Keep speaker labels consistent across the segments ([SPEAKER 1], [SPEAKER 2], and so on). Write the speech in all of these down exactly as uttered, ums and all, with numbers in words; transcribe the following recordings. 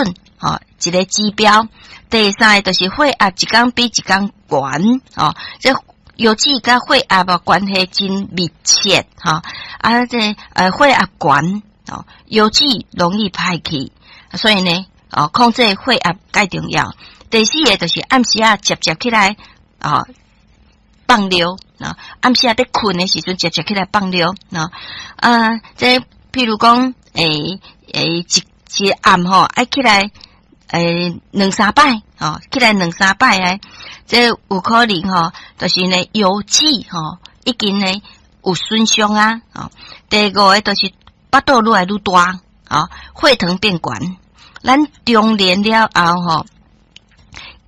[SPEAKER 1] 損，吼，一个指標。第三个就是血壓一工比一工懸，吼，這腰子佮血壓啊關係真密切，吼，啊，這呃血壓懸，哦，腰子容易歹去，所以呢，哦，控制血壓蓋重要。第四个就是暗時仔捷捷起來，哦，放尿，啊，暗時仔佇睏的時陣，捷捷起來放尿，啊，啊，這譬如講，欸欸，一一暗吼愛起來，欸，兩三擺，吼，起來兩三擺的，這有可能吼，就是呢腰子吼已經呢有損傷啊，吼。第五个就是腹肚愈來愈大，吼，血糖變懸。咱中年了後吼，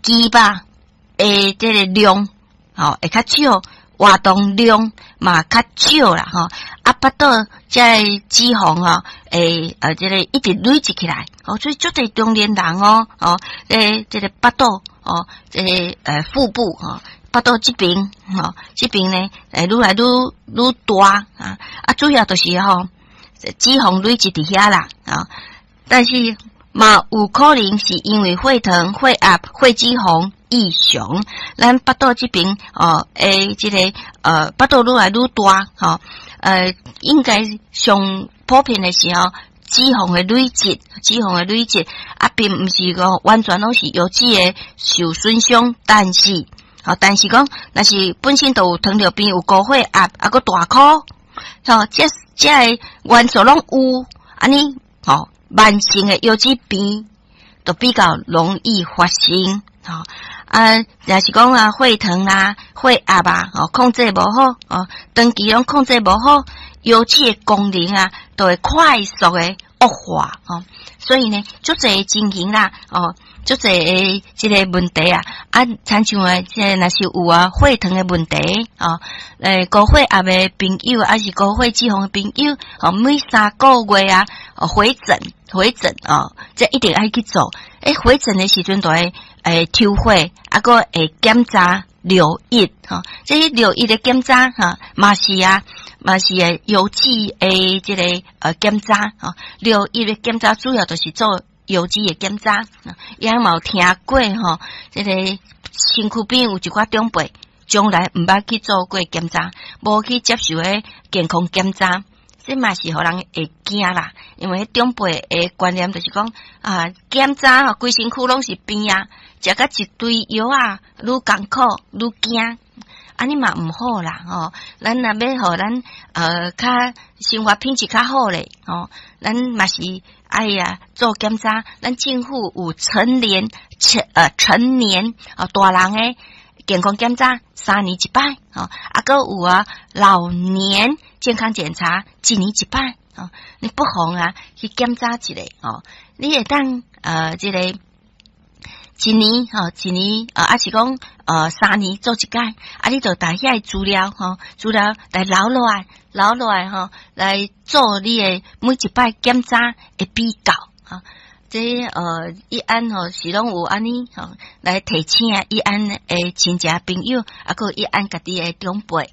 [SPEAKER 1] 肌肉的這个量吼會較少，活動量嘛較少啦，吼。啊，腹肚這个脂肪吼，會呃這个一直累積起來，哦，所以足濟中年人哦，哦，這這个腹肚哦，這个呃腹部吼，腹肚這邊吼，這邊呢會愈來愈愈大啊，啊，主要就是吼脂肪累積佇遐啦，啊，但是嘛有可能是因為血糖、血壓、血脂肪異常，咱腹肚這邊哦，會這个呃腹肚愈來愈大，吼，呃，應該上普遍的是吼脂肪的累積，脂肪的累積啊，並毋是講完全攏是腰子的受損傷，但是，吼，但是講，若是本身就有糖尿病、有高血壓，啊，閣大箍，吼，這這个元素攏有，按呢，吼，慢性的腰子病就比較容易發生，吼，啊，若是講啊，血糖啊、血壓啊，吼，控制無好，哦，長期攏控制無好，腰子的功能啊，就會快速的惡化，吼，所以呢，足濟情形啦，哦，足濟的這个問題啊，啊，親像啊，這个若是有啊血糖的問題，哦，欸，高血壓的朋友，抑是高血脂肪的朋友，哦，每三個月啊，哦，回診回診哦，這一定愛去做。欸，回診的時陣就會會抽血，啊，閣會檢查尿液，吼，這个尿液的檢查，哈，嘛是啊，嘛是會腰子的這個呃檢查，吼，尿液的檢查主要就是做腰子的檢查，也嘛有聽過吼，這个身軀邊有一寡長輩，從來毋捌去做過檢查，無去接受彼健康檢查，這嘛是予人會驚啦。因為彼長輩的觀念就是講啊，檢查吼，規身軀攏是病啊，食甲一堆藥啊，愈艱苦愈驚，按呢嘛毋好啦吼。咱若欲予咱呃較生活品質較好咧，吼，咱嘛是愛啊做檢查。咱政府有成年成呃成年哦大人的健康檢查三年一擺，吼，啊，閣有啊老年健康檢查一年一擺，吼，你不妨啊去檢查一下，吼，你會當呃這個一年吼，一年呃，抑是講呃三年做一擺，啊，你就帶遐个資料吼，資料來留落來，留落來吼，來做你的每一擺檢查的比較，吼。這呃，一安吼是攏有按呢吼來提醒一安的親戚朋友，啊，閣一安家己的長輩。